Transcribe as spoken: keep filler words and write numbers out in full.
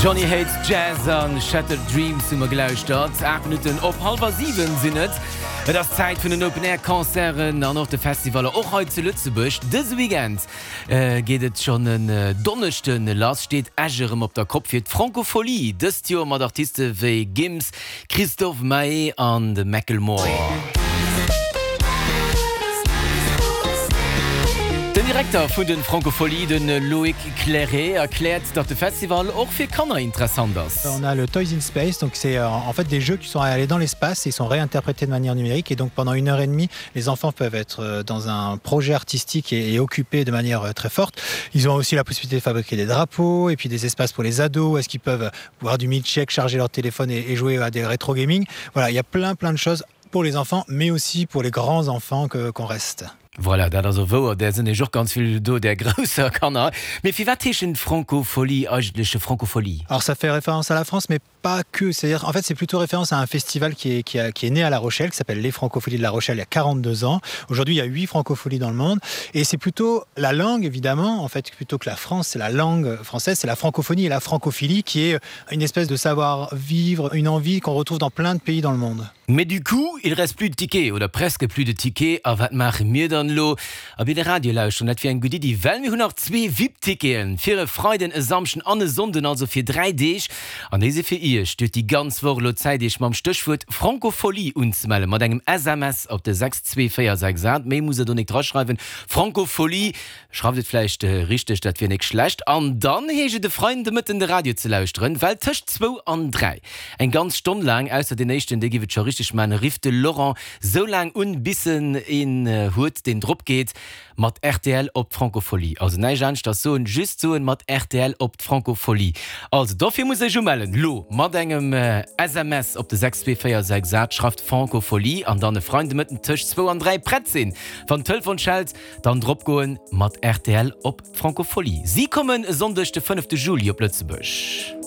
Johnny Hates Jazz an Shattered Dreams hu mer gelauschtert. Aacht Minutten op hallwer siwen sinn et. Et ass Zäit vun den Open Air Concerten an och de Festivaller, och hei zu Lëtzebuerg. Dëse Weekend geet et schonn en Donneschde lass, steet Esch erëm op der Kopp fir d'Francofolies, dëst Joer mat Artiste wéi Gims, Christophe Maé an de Macklemore. Den Direkter vun de Francofolies, de Loïc Clairet, erkläert, datt de Festival och fir Kanner interessant ass. On a le Toys in Space, donc c'est euh, en fait des jeux qui sont allés dans l'espace et sont réinterprétés de manière numérique et donc pendant une heure et demie les enfants peuvent être euh, dans un projet artistique et, et occupés de manière euh, très forte. Ils ont aussi la possibilité de fabriquer des drapeaux et puis des espaces pour les ados, est-ce qu'ils peuvent boire du milkshake, charger leur téléphone et, et jouer à des rétro gaming. Voilà, il y a plein plein de choses pour les enfants mais aussi pour les grands enfants que qu'on reste. Voilà, dat ass och wouer, där sinn nämlech och ganz vill do, där grousser Kanner. Mee firwat heeschen d'Francofolies eigentlech Francofolies? Alors ça fait référence à la France mais pas que, c'est-à-dire en fait c'est plutôt référence à un festival qui est, qui a, qui est né à La Rochelle, qui s'appelle les Francofolies de La Rochelle il y a quarante-deux ans. Aujourd'hui il y a huit Francofolies dans le monde et c'est plutôt la langue évidemment, en fait plutôt que la France, c'est la langue française, c'est la francophonie et la francophilie qui est une espèce de savoir-vivre, une envie qu'on retrouve dans plein de pays dans le monde. Mais du coup, il reste plus de tickets oder presque plus de tickets. A wat maache mir dann elo? Abee de Radio lauschteren, dat wier eng gutt Iddi, well mir hunn nach zwee VIP-Ticketen fir e Freiden, e Samschden an e Sonnden, also fir dräi Deeg. An déi si fir Iech. Dir hutt déi ganz Woch elo Zäit, Iech mam Stéchwuert Francofolie unzemellen, mat engem S M S op de sechs zwee véier sechs aacht. Méi musst der do nik draschreiwen. Francofolie, schreift et vläicht richteg, dat wier nik schlecht. An dann heescht et e Freiden de Mëtten de Radio ze lauschteren, well tëscht zwou an dräi, eng ganz Stonn laang, ausser deen éischten, dee giff et scho richteg man, rifft de Laurent sou laang un, bis en een huet, deen drop geet mat rtl op d'Francofolie. Also näischt aneschters soen, just soen mat rtl op d'Francofolie. Also dofir musst der iech umellen lo mat engem S M S op de sechs zwee véier sechs aacht, schreift Francofolie an dann e Freiden de Mëtten tëscht zwou an dräi prett sinn. Wann d'Telefon schellt, dann drop goen mat rtl op d'Francofolie. Si kommen e Sonndeg de fënnefte Juli op Lëtzebuerg.